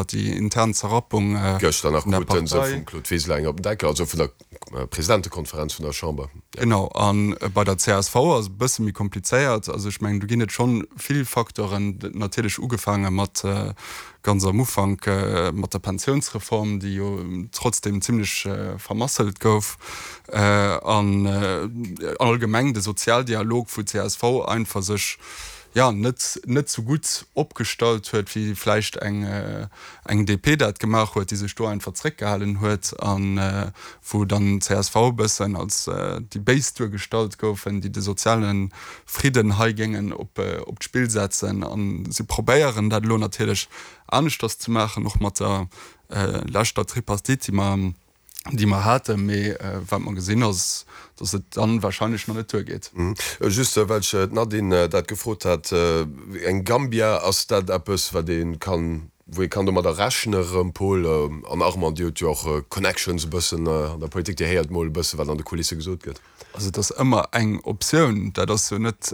Déi intern Zerrappung vun der Partei. Gëschter nach krute se vum Claude Wiseler eng op den Deckel, also vun der Presidentekonferenz vun der Chamber. Genau, a bei der csv ass et e bësse méi komplizéiert. Also ech mengen, do ginn et schonn vill Facteuren, natierlech ugefaange mat ganz am Ufank mat der Pensiounsreform, déi jo trotzdeem zimlech vermasselt gouf, an allgemeng de Sozialdialog, wou d'CSV einfach sech, jo, net, net sou gutt opgestallt huet, wéi vläicht eng, eng DP dat gemaach huet, déi sech do einfach zréckgehalen huet a wou dann csv e bëssen als déi Béis duergestallt goufen, déi de soziale Fridden hei géingen op, op d'Spill setzen. A si probéieren dat elo natierlech aneschters ze maachen, och mat der leschter Tripartite, déi mer, déi mer haten, mee wat mer gesinn ass, datt et dann wahrscheinlech nach net duergeet. Just well ech d'Nadine dat gefrot hat, eng Gambia, ass dat eppes wat ee kann, wou ee kann domadder rechne rëm, Paul? An Armand, Dir hutt jo och Connections e bëssen an der Politik, Dir héiert mol e bësse wat an de Kulisse gesot gëtt. Also et ass ëmmer eng Optioun, dat ass jo net,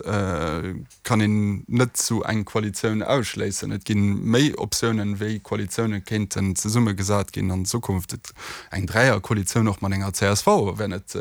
kann een net sou eng Koalitioun ausschléissen. Et gi méi Optiounen, wéi Koalitioune kéinten zesummegesat ginn an Zukunft. Et, eng Dräierkoalitioun och mat enger csv wär net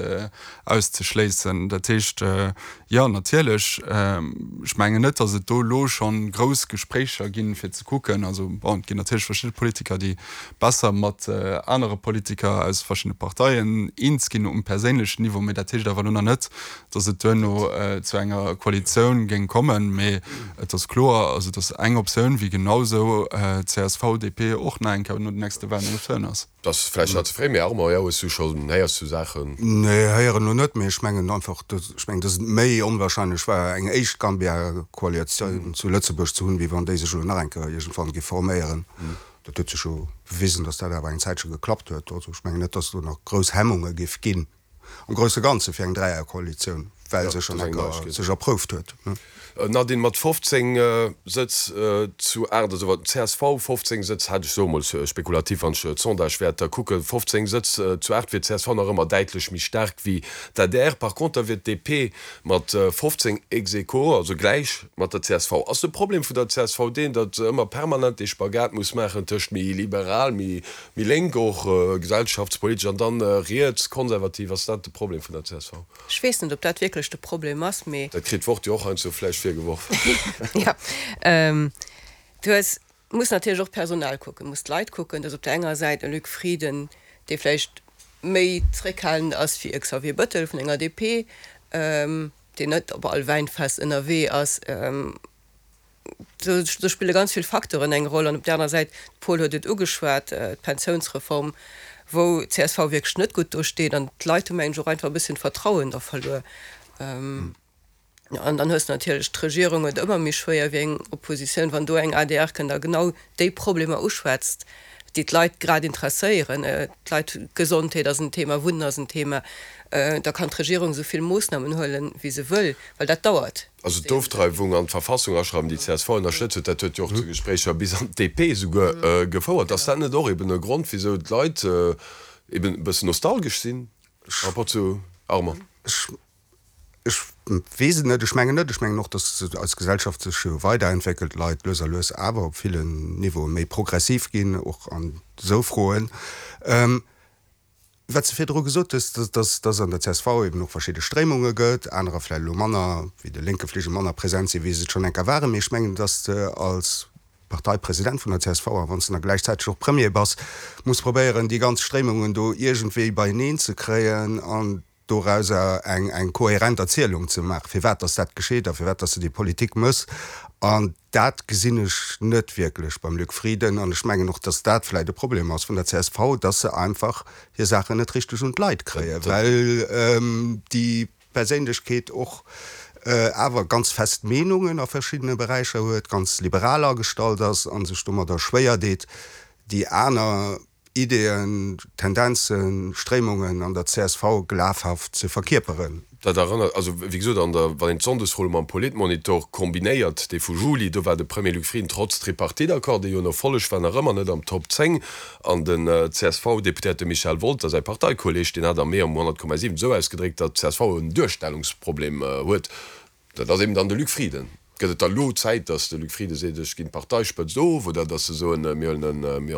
auszeschléissen. Dat heescht, jo natierlech, ech mengen net, datt et do elo scho grouss Gespréicher ginn, fir ze kucken, also bon, et ginn natierlech verschidde Politiker, déi besser mat anere Politiker aus verschiddene Parteien eens ginn um perséinlechen Niveau, mee dat heescht awer elo nach net, datt et duerno zu enger Koalitioun géing kommen. Mee et ass kloer, also datt eng Optioun, wéi genau esou csv, DP och nach eng Kéier no den nächste Wahlen eng Optioun ass. Et ass vläicht nach ze fréi, mee Armand, jo, hues du schonn, héiers du Saachen? Nee, héieren elo net, mee ech mengen einfach, ech mengen, datt et méi onwahrscheinlech war, eng éischt Gambia-Koalitioun zu Lëtzebuerg ze hunn, wéi wann déi sech elo nach eng Kéier iergendwann géif forméieren. Dat huet sech jo bewisen, datt dat awer eng Zäitche geklappt huet. Also ech mengen net, datt do nach grouss Hemmunge géif ginn am grousse Ganze fir eng Dräierkoalitioun, well se schonn eng Kéier sech erprouft huet. Nadine, mat 15 Sëtz zu 8, also wat csv 15 Sëtz hat, ech soe mol spekulativ, wann ech d'Sondagewäerter kucken, 15 Sëtz zu 8 wier csv nach ëmmer däitlech méi staark wéi d'ADR. Par conter wier d'DP mat 15 ex aequo, also gläich mat der csv. Ass de Problem vun der csv deen, datt se ëmmer permanent dee Spagat muss maachen tëscht méi liberal, méi lénk och gesellschaftspolitesch an dann riets, konservativ? Ass dat de Problem vun der csv? Ech weess net, ob dat wierklech de Problem ass, mee. Dat kritt d'Wort jo och heiansdo vläicht virgeworf. Jo. Du hues, muss natierlech och d'Personal kucken, muss d'Leit kucken. Du hues op der enger Säit e Luc Frieden, dee vläicht méi zréckhalend ass wéi e Xavier Bettel vun enger DP, deen net op all Wäinfest ënnerwee ass. Do spille ganz vill Facteuren eng Roll. An op där anerer Säit, de Paul huet et ugeschwat, d'Pensiounsreform, wou csv wierklech net gutt do steet. An d'Leit hu mengen ech och einfach e bësschen d'Vertrauen da verluer. An dann hues de natierlech, d'Regierung huet ëmmer méi schwéier wéi eng Oppositioun, wann do eng adr kënnt a genau déi Problemer uschwätzt, déi d'Leit grad interesséieren. D'Leit, Gesondheet ass en Thema, Wunnen ass en Thema, da kann d'Regierung esou vill Moossnamen huelen, wéi se wëll, well dat dauert. Also d'Ofdreiwung an d'Verfassung aschreiwen, déi csv ënnerstëtzt huet, dat huet jo och zu Gespréicher bis an d'DP esouguer gefouert. Ass dat net och eben e Grond, wisou d'Leit eben e bëssen nostalgesch sinn par rapport zu Armand? Ech weess et net. Ech mengen net. Ech mengen och, datt eis Gesellschaft sech jo weiderentwéckelt, d'Leit lues a lues awer op villen Niveaue méi progressiv ginn, och an esou Froen. Wat s de virdru gesot hues, dass dass an der csv eben och verschidde Stréimunge gëtt, anerer vläicht elo manner, wéi de lénke Fligel, manner present sinn, wéi se et schonn eng Kéier waren. Mee ech mengen, dass de als Parteipresident vun der csv, a wann s de da gläichzäiteg och Premier bass, muss probéieren, déi ganz Stréimungen do iergendwéi beieneen ze kréien an dorauser eng eng kohärent Erzielung ze maachen, firwat dass dat geschitt a firwat dass de déi Politik méchs. An dat gesinn ech net wierklech beim Luc Frieden. An ech mengen och, dass dat vläicht e Problem ass vun der csv, dass se einfach hir Saachen net richteg un d'Leit kréien, well déi Perséinlechkeet och awer ganz fest Meenungen a verschiddene Beräicher huet, ganz liberal agestallt ass a sech domadder schwéier deet, déi aner Ideeën, Tendenzen, Stréimungen an der csv glafhaft ze verkierperen. Dat erënnert, also wéi gesot, an der, wann een d'Sonndesfro mam Politmonitor kombinéiert, dee vu Juli, do war de Premier Luc Frieden trotz Tripartite-Accord, dee jo en Erfolleg war, nach ëmmer net am Top 10. An den CSV-Deputéierte Michel Wolter, säi Parteikolleeg, deen hat am Mee am 100,7 esou ausgedréckt, datt d'CSV en Duerstellungsproblem huet. Dat ass eben dann de Luc Frieden. Gëtt et da lo Zäit, datt de Luc Frieden seet, ech ginn d'Parteispëtzt of, oder datt se soen, mir huelen e, mir.